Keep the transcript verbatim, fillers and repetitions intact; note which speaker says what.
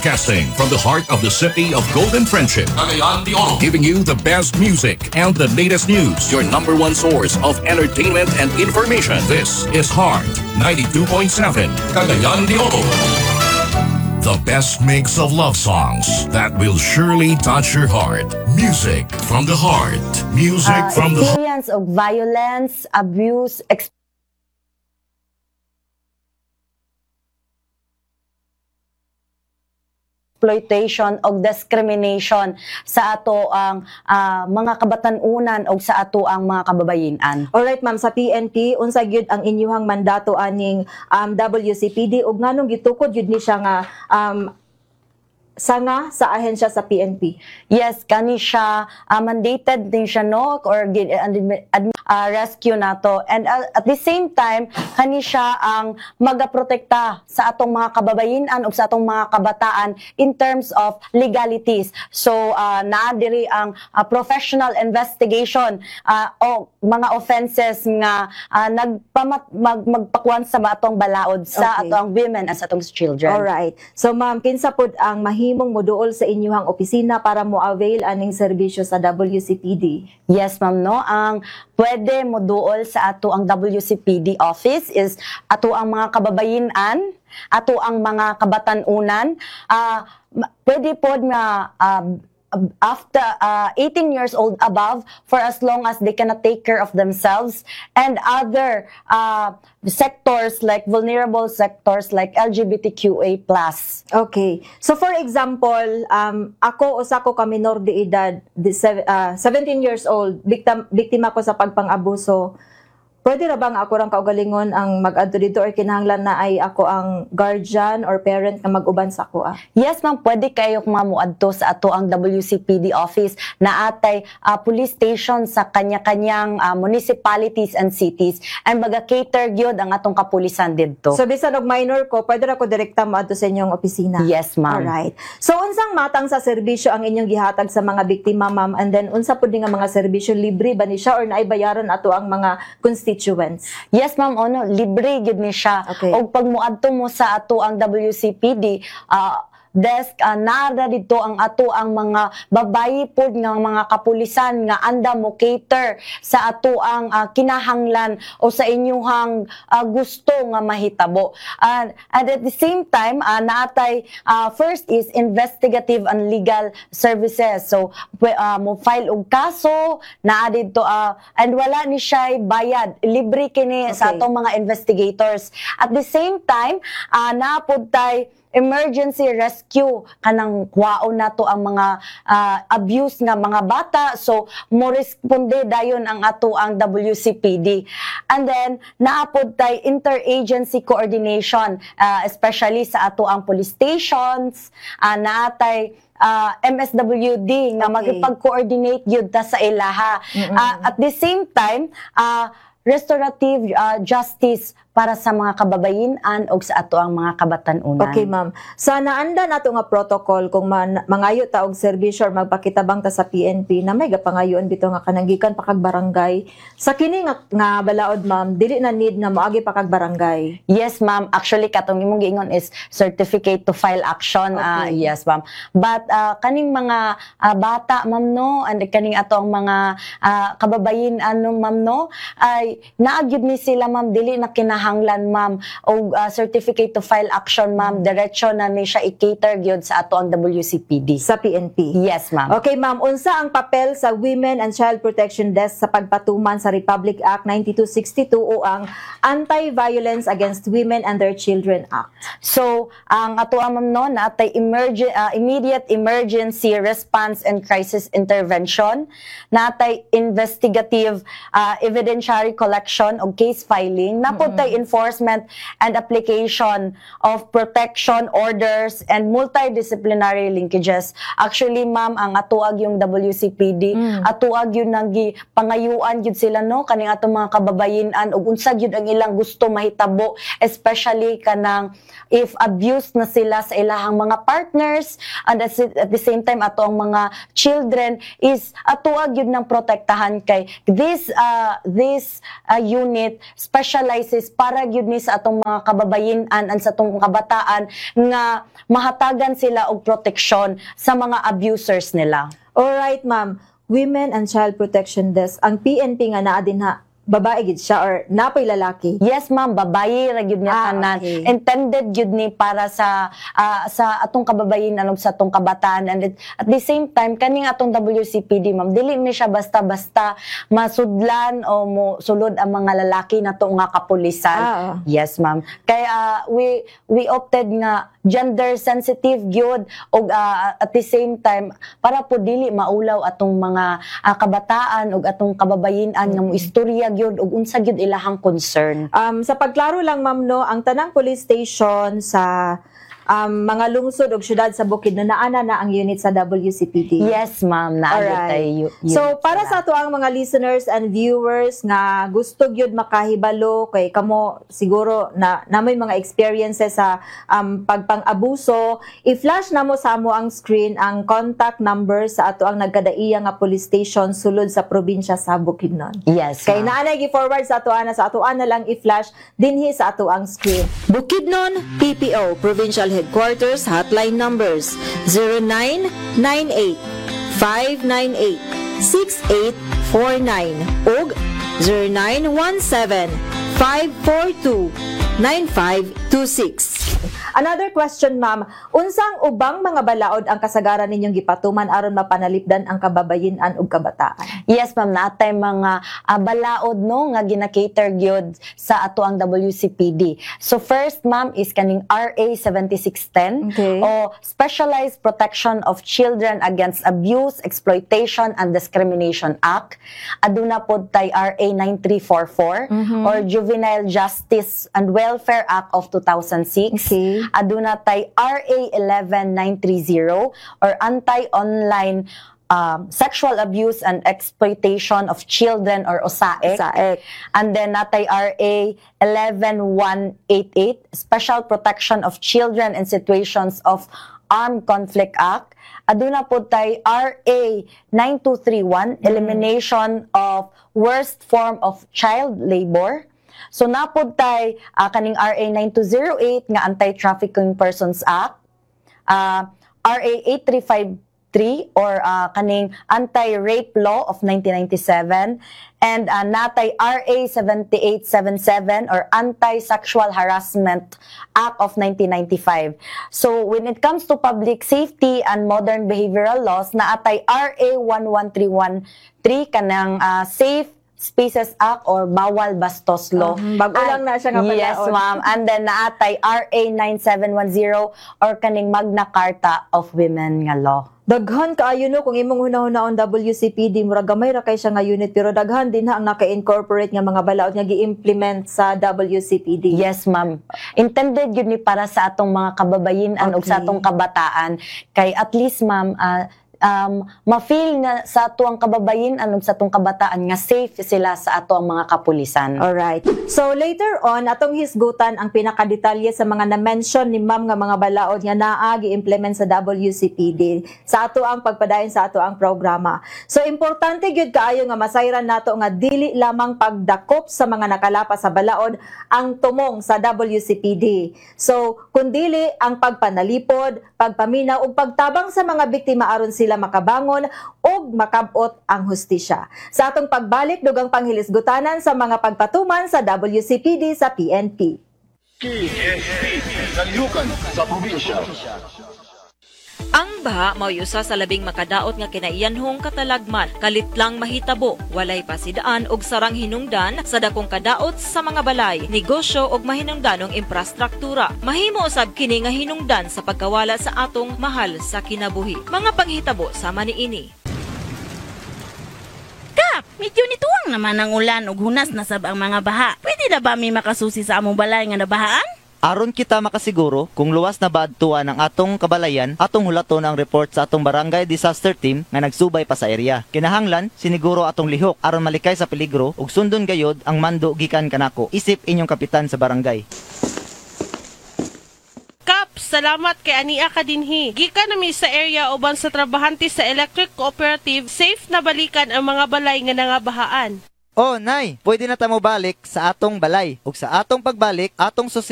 Speaker 1: Broadcasting from the heart of the city of Golden Friendship,
Speaker 2: Cagayan de Oro.
Speaker 1: Giving you the best music and the latest news. Your number one source of entertainment and information. This is Heart ninety-two point seven, Cagayan de Oro. The best mix of love songs that will surely touch your heart. Music from the heart. Music
Speaker 3: uh,
Speaker 1: from the heart.
Speaker 3: Experience of violence, abuse, exploitation o discrimination sa ato ang ah, mga kabatan-unan o sa ato ang mga kababayinan.
Speaker 4: Alright ma'am, sa P N P, unsa gyud ang inyuhang mandato aning um, W C P D ug nganong gitukod gyud ni siya nga um, sanga sa ahensya sa P N P?
Speaker 3: Yes, kani siya ah, mandated din siya, no, or gi- admi- admi- ah, rescue nato and ah, at the same time kani siya ang magaprotekta sa atong mga kababayinan ug sa atong mga kabataan in terms of legalities. So uh, naa diri ang ah, professional investigation ah, o mga offenses nga ah, nagpamat mag, magpakuan sa atong balaod sa
Speaker 4: Okay.
Speaker 3: atong women and sa atong children.
Speaker 4: Alright. So ma'am, kinsa pod ang mahimong moduol sa inyuhang opisina para mo avail aning serbisyo sa W C P D?
Speaker 3: Yes, ma'am, no? Ang pwede mo duol sa ato ang W C P D office is ato ang mga kababayinan, ato ang mga kabatanunan. Ah, ma- pwede pod nga ah, after ah, eighteen years old above for as long as they cannot take care of themselves and other ah, sectors like vulnerable sectors like L G B T Q A plus.
Speaker 4: Okay. So for example, um, ako, usa ko ka minor de edad, di- sev- ah, seventeen years old, biktim, biktima ko sa pagpang-abuso. Pwede ra ba nga ako rang kaugalingon ang mag-adto dito or kinahanglan na ay ako ang guardian or parent nga mag-uban sa ako ah?
Speaker 3: Yes, ma'am, pwede kayo mamuadto sa ato ang W C P D office na atay ah, police station sa kanya-kanyang ah, municipalities and cities and baga cater gyud ang atong kapulisan didto.
Speaker 4: So bisan og minor ko, pwede ra ko direkta moadto sa inyong opisina?
Speaker 3: Yes, ma'am.
Speaker 4: Alright. So unsang matang sa serbisyo ang inyong gihatag sa mga biktima, ma'am? And then unsa pud ni nga mga serbisyo, libre ba ni siya or naay bayaran ato ang mga constituents?
Speaker 3: Yes, ma'am, ono, libre gyud ni siya.
Speaker 4: Okay.
Speaker 3: Og pag muadto mo sa ato ang W C P D ah, desk, uh, nara dito ang ato ang mga babayi pod nga mga kapulisan nga anda mo cater sa ato ang ah, kinahanglan o sa inyuhang ah, gusto nga mahitabo. And, and at the same time, uh, naatay ah, first is investigative and legal services. So pwe- ah, mo file og kaso naa didto ah, and wala ni siya bayad, libre kini sa
Speaker 4: Okay.
Speaker 3: atong mga investigators. At the same time, uh, naapod tay emergency rescue, kanang kwaon nato ang mga ah, abuse nga mga bata, so mo responde dayon ang ato ang W C P D. And then naapod tay interagency coordination, ah, especially sa ato ang police stations, uh, naatay ah, M S W D nga
Speaker 4: Okay.
Speaker 3: makipag-coordinate gyud ta sa ilaha. Ah, at the same time, ah, restorative ah, justice para sa mga kababayinan o sa ato ang mga kabatanunan.
Speaker 4: Okay, ma'am. Sa naanda nato nga protocol kung man, mangayo ta og serbisyo or magpakitabang ta sa P N P na may gapangayoon bitaw nga kanang gikan pa kag barangay. Sa kini nga, nga balaod, ma'am, dili na need nga moagi pa kag barangay?
Speaker 3: Yes, ma'am. Actually, katong imong giingon is certificate to file action. Ah,
Speaker 4: Okay.
Speaker 3: Yes, ma'am. But ah, kaning mga ah, bata, ma'am, no, and kaning ato ang mga ah, kababayin ano, ma'am, no, ay naagyud ni sila, ma'am, dili na kinahanglan, ma'am, og ah, certificate to file action, ma'am. Diretso na ni siya i-cater gyud sa ato ang W C P D.
Speaker 4: Sa P N P.
Speaker 3: Yes, ma'am.
Speaker 4: Okay, ma'am, unsa ang papel sa Women and Child Protection Desk sa pagpatuman sa Republic Act ninety-two sixty-two o ang Anti-Violence Against Women and Their Children Act?
Speaker 3: So, ang ato, ma'am, no, natay emergen, ah, immediate emergency response and crisis intervention, natay investigative ah, evidentiary collection o case filing, napod tay enforcement and application of protection orders and multidisciplinary linkages. Actually, ma'am, ang atuag yung W C P D, atuag yun nang gi pangayuan gyud sila, no, kaning atong mga kababayinan ug unsa gyud ang ilang gusto mahitabo, especially kanang if abused na sila sa ilahang mga partners and at, at the same time ato ang mga children is atuag gyud ng protektahan kay this uh, this uh, unit specializes para gyud ni sa atong mga kababayen-an and sa atong kabataan nga mahatagan sila og proteksyon sa mga abusers nila.
Speaker 4: Alright, ma'am. Women and Child Protection Desk. Ang P N P nga naa dinha, babae gid siya or napoy lalaki?
Speaker 3: Yes, ma'am, babae ra gyud nga
Speaker 4: Ah,
Speaker 3: tanan.
Speaker 4: okay.
Speaker 3: Intended gyud ni para sa ah, sa atong kababayen ug sa atong kabataan, and it- at the same time, kaning atong W C P D, ma'am, dili ni siya basta-basta masudlan o mo sulod ang mga lalaki nato nga kapulisan.
Speaker 4: Ah.
Speaker 3: Yes, ma'am. Kaya ah, we we opted nga gender sensitive gyud og ah, at the same time para po dili maulaw atong mga ah, kabataan ug atong kababayen-an nga mo istorya gyud ug unsa gyud ilahang concern.
Speaker 4: Um, sa pagklaro lang, ma'am, no, ang tanang police station sa um, mga lungsod ug syudad sa Bukidnon, naana na ang unit sa W C P D.
Speaker 3: Yes, ma'am, naa gyud
Speaker 4: Alright.
Speaker 3: tay yu-
Speaker 4: So
Speaker 3: unit
Speaker 4: para
Speaker 3: sila.
Speaker 4: sa ato ang mga listeners and viewers nga gusto gyud makahibalo, kay kamo siguro na namoy mga experiences sa um, pagpang-abuso, i-flash namo sa amo ang screen ang contact number sa ato ang nagkadaiya nga police station sulod sa probinsya sa Bukidnon.
Speaker 3: Yes,
Speaker 4: Kay
Speaker 3: ma'am.
Speaker 4: naa na gi-forward sa ato ana, sa ato na lang i-flash dinhi sa ato ang screen.
Speaker 2: Bukidnon P P O Provincial Headquarters hotline numbers: zero nine nine eight five nine eight six eight four nine ug zero nine one seven five four two nine five two six.
Speaker 4: Another question, ma'am. Unsang ubang mga balaod ang kasagaran ninyong gipatuman aron mapanalipdan ang kababayen-an ug kabataan?
Speaker 3: Yes, ma'am, natay mga ah, balaod, no, nga gina-cater gyud sa ato ang W C P D. So first, ma'am, is kaning R A seventy-six ten
Speaker 4: Okay.
Speaker 3: o Specialized Protection of Children Against Abuse, Exploitation and Discrimination Act. Aduna pod tay R A nine three four four or Juvenile Justice and Welfare Act of two thousand six.
Speaker 4: Okay.
Speaker 3: Aduna tay R A one one nine three zero or Anti-Online um, Sexual Abuse and Exploitation of Children or OSAEC.
Speaker 4: OSAEC.
Speaker 3: And then natay R A one one one eight eight, Special Protection of Children in Situations of Armed Conflict Act. Aduna po tay R A nine two three one, Elimination of Worst Form of Child Labor. So napod tay ah, kaning R A nine two zero eight nga Anti-Trafficking Persons Act, ah, R A eight three five three or ah, kaning Anti-Rape Law of nineteen ninety-seven, and ah, natay R A seven eight seven seven or Anti-Sexual Harassment Act of nineteen ninety-five. So when it comes to public safety and modern behavioral laws, naatay R A one one three one three, kanang ah, Safe Spaces Act or Bawal Bastos Law.
Speaker 4: Mhm, bago lang na siya nga
Speaker 3: Yes,
Speaker 4: palaod.
Speaker 3: Ma'am. And then naatay R A nine seven one zero or kaning Magna Carta of Women nga law.
Speaker 4: Daghan kaayo, no, kung imong hunahuna W C P D, murag gamay ra kay siya nga unit, pero daghan din ha ang naka-incorporate nga mga balaod nga gi-implement sa W C P D.
Speaker 3: Yes, ma'am. Intended yun ni para sa atong mga kababayen-an ug sa
Speaker 4: Okay.
Speaker 3: atong kabataan kay at least, ma'am, ah, um, ma-feel na sa atuang kababayen-an ug sa atong kabataan nga safe sila sa ato ang mga kapulisan.
Speaker 4: Alright. So later on, atong hisgutan ang pinakadetalye sa mga na-mention ni ma'am nga mga balaod nga naa gi-implement sa W C P D sa ato ang pagpadayon sa ato ang programa. So importante gyud kaayo nga masayran nato nga dili lamang pagdakop sa mga nakalapas sa balaod ang tumong sa W C P D. So kundili ang pagpanalipod, pagpaminaw ug pagtabang sa mga biktima aron sila makabangon ug makabot ang hustisya. Sa atong pagbalik, dugang panghilisgutanan sa mga pagpatuman sa W C P D sa P N P.
Speaker 5: K S P, Kalihukan sa Probinsya.
Speaker 6: Ang baha mao'y usa sa labing makadaot nga kinaiyanhong katalagman, kalit lang mahitabo, walay pasidaan og sarang hinungdan sa dakong kadaot sa mga balay, negosyo ug mahinungdanong imprastruktura. Mahimo usab kini nga hinungdan sa pagkawala sa atong mahal sa kinabuhi. Mga panghitabo sama niini.
Speaker 7: Kap, medyo nituwang naman ang ulan ug hunas na sab ang mga baha. Pwede na ba mi makasusi sa among balay nga nabahaan?
Speaker 8: Aron kita makasiguro kung luwas na ba adtuan ang atong kabalayan, atong hulaton ang report sa atong barangay disaster team nga nagsubay pa sa area. Kinahanglan siniguro atong lihok aron malikay sa peligro ug sundon gayod ang mando gikan kanako. Isip inyong kapitan sa barangay.
Speaker 9: Kap, salamat kay ania ka dinhi. Gikan nami sa area uban sa trabahante sa Electric Cooperative, safe na balikan ang mga balay nga nangabahaan.
Speaker 8: Oh, Nay, pwede na ta mo balik sa atong balay. Ug sa atong pagbalik, atong susihon